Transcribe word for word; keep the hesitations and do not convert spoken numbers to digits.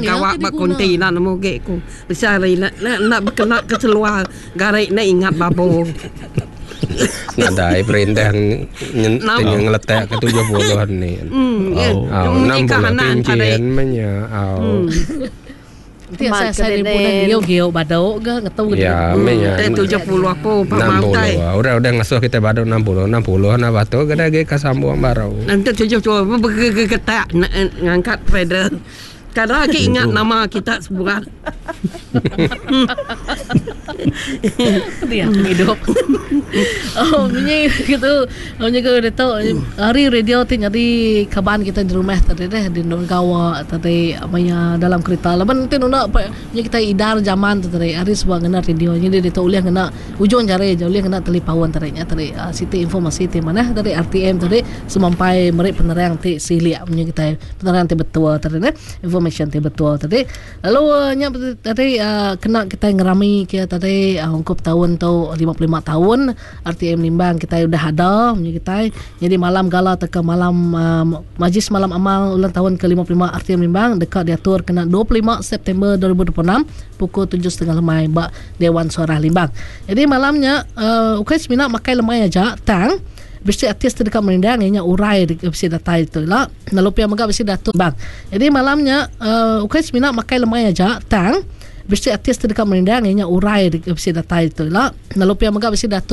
Gawa ba konti enda nemu agi ku. Bisi hari enda enda bekena ke seluar gari enda ingat babo. Nadai perintah ngeletak ke tujuh puluh ni. Au enam puluh pincin meh nya. Au. Ti asai asai ni pun giu giu badu ga ngetu ga. Ya meh nya. Tujuh puluh apu pama utai. Udah udah ngasuh kita badu enam puluh enam puluh nah batu ga agi ka sambung baru. Enti tujuh puluh begegetak ngangkat feather. Kada agi ingat nama kita sebuat. Dia pengidup. Oh munyi kitu munyi ke ditu hari radio ti nyadi kaban kita di rumah tadi deh di endur gawa tadi maya dalam kerita laban ti nunda munyi kita idar zaman tu tadi hari suba ngena radio nyadi ditu ulih ngena ujung jari aja ulih ngena talipaun tadi nya tadi siti informasi ti manah tadi R T M tadi semampai meri penerang ti silik munyi kitai penerang ti betul tadi neh. Information ti betul tadi. Lalu nya tadi kena kitai ngerami ke tadi ungkup taun tu lima puluh lima taun R T M Limbang kitai udah ada munyi kitai. Nyadi malam gala tauka malam majlis malam amal ulang taun ke lima puluh lima R T M Limbang deka diatur kena dua puluh lima September dua ribu dua puluh enam pukul tujuh setengah lemai ba Dewan Suarah Limbang. Jadi malam nya ukai semina makai lemai aja tang bisi artis ti deka merindang iya nya urai bisi datai tu ila lalu pia mega bisi datu bang. Jadi malam nya uh, ukai semina makai lemai aja tang bisi artis ti deka merindang iya nya urai bisi datai tu ila lalu pia mega bisi datu